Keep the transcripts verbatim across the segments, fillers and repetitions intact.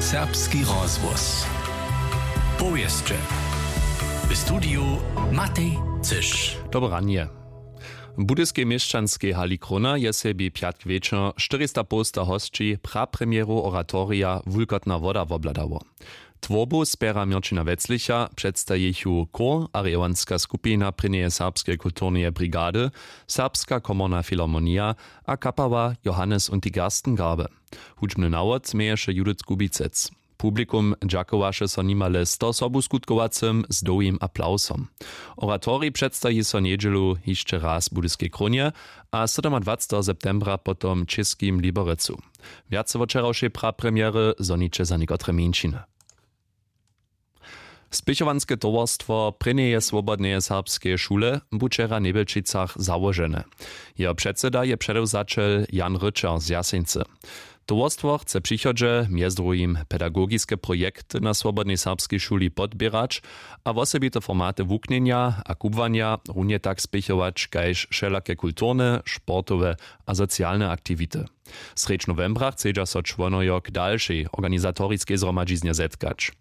Serbski rozhłos. Powěsće. W studiju Matej Cyš. Dobre ranje. W budyskej měšćanskej hali Krona je sebi pjatk wječor štyrista połsta hosći prapremjeru oratorija Wulkotna woda wobhladało. Twórbu spjera Měrćina Weclicha, předstajichu chór a rejowanska skupina prěnjeje serbskeje kulturneje brigady, Serbska komorna filharmonija a kapała Johannes und die Gerstengarbe. Hudźbny nawod měješe Judith Kubicec. Publikum dźakowaše so nimale sto sobuskutkowacym z dołhim aplawsom. Oratorij předstaji so njedźelu hišće raz w Budyskej Krónje a sydomadwacteho septembra potom w Čěskim Liberecu. Wjace wot wčerawšej prapremjery zhoniće za někotre mjeńšiny. Spěchowanske towarstwo prěnjeje swobodneje serbskeje šule bu wčera w Njebjelčicach załožene. Jeho předseda je předewzaćel Jan Ryćer z Jaseńcy. Towarstwo chce w přichodźe mjez druhim pedagogiske projekty na swobodnej serbskej šuli podběrać a wosebite formaty wuknjenja a kubłanja runje tak spěchować kaž wšelake kulturne, sportowe a socialne aktiwity. Srjedź nowembra chcedźa so čłonojo k dalšej organizatoriskej zhromadźiznje zetkać.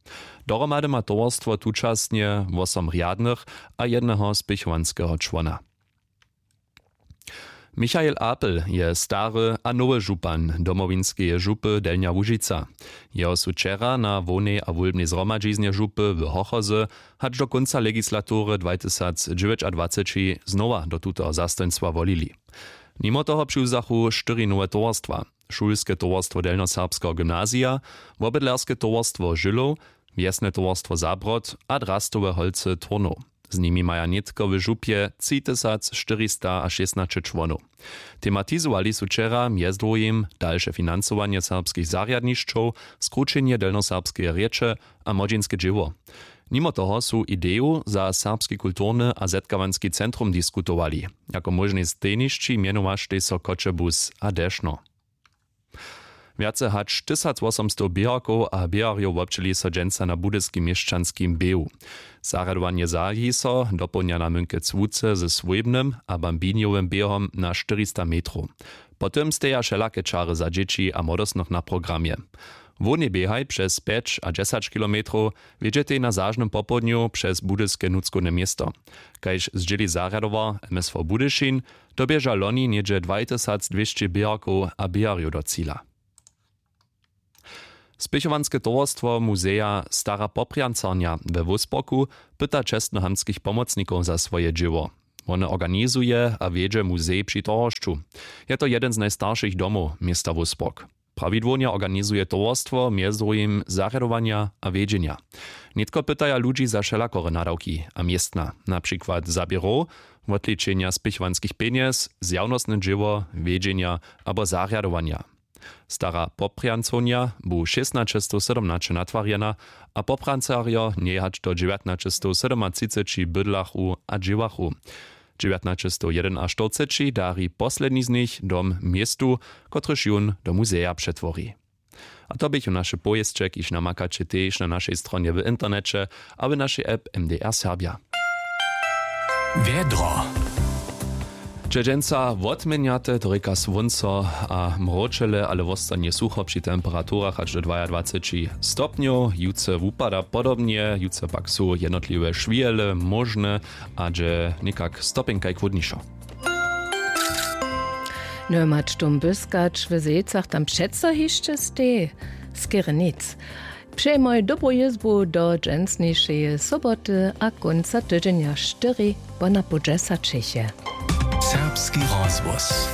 Dohromady ma towarstwo tučasnje wosom rjadnych a jedneho spěchowanskeho čłona. Michael Apel je stary a nowy župan Domowinskeje župy Delnja Łužica. Jeho su wčera na hłownej a wólbnej zhromadźiznje župy w Hochozy hač do kónca legislatury dwatysacdźewjećadwaceći znowa do tutoho zastojnstwa wolili. Nimo toho přiwzachu štyri nowe towarstwa: šulske towarstwo delnjoserbskeho gymnazija, wobydlerske towarstwo Žylow, wjesne towarstwo Zabrod a drastowe holcy Turnow. Z nimi maja nětko w župje třitysac štyristašěsnaće čłonow. Tematizowali su wčera mjez druhim dalše financowanje serbskich zarjadnišćow, skrućenje delnjoserbskeje rěče a młodźinske dźěło. Nimo toho su ideju za serbski kulturny a zetkawanski centrum diskutowali. Jako móžnej stejnišći mjenowaštej so Choćebuz a Dešno. Wjace hač tysacwosomstow běharkow a běharjow wobdźěli so dźensa na budyskim měšćanskim běhu. Zarjadowanje zahaji so dopołdnja namónke cłuce ze swójbnym a bambinjowym běhom na štyrista metrow. Potom steja wšelake čary za dźěći a młodostnych na programje. Hłownej běhaj přez pjeć a dźesać kilometrow wjedźetej na zažnym popołdnju přez budyske nutřkowne město. Kaž zdźěli zarjadowar M S V Budyšin, doběža loni něhdźe dwatysacdwěsći běharkow a běharjow do cila. Spěchowanske towarstwo muzeja Stara Poprjancarnja we Wósporku pyta čestnohamtskich pomocnikow za swoje dźěło. Wone organizuje a wjedźe muzej při Torhošću. Je to jedyn z najstaršich domow města Wóspork. Prawidłownje organizuje towarstwo mjez druhim zarjadowanja a wjedźenja. Nětko pytaja ludźi za wšelakore nadawki a městna, na přikład za běrow, wotličenja spěchowanskich pjenjez, zjawnostne dźěło, wjedźenja abo zarjadowanja. Stara Poprjancownja bu šěstnaćestowsydomnaće natwarjena a Poprjancarjo njej hač do dźewjatnaćestowsydomatřiceći bydlachu a dźěłachu. Dźewjatnaćestowjedenaštyrceći dari posledni z nich dom městu, kotryž jón do muzeja přetwori. A to běchu naše powěsće, kiž namakaće tež na našej stronje w interneće a w našej app M D R Serbja. Wjedro. Dźe dźensa wotměnjate, to rěka słónco a mróčele, ale wostanje sucho při temperaturach hač do dwajadwaceći stopnjow. Jutře wupada podobnje, jutře pak su jednotliwe šwijele móžne a dźe někak stopjenkaj chłódnišo. No, mač tom byskać w Zejcach, tam přeco hišće stej skerje nic. Přejmoj dobru jězbu do dźensnišeje soboty a kónca tydźenja štyri ponapoł dźesaćich je. Serbski rozhłos.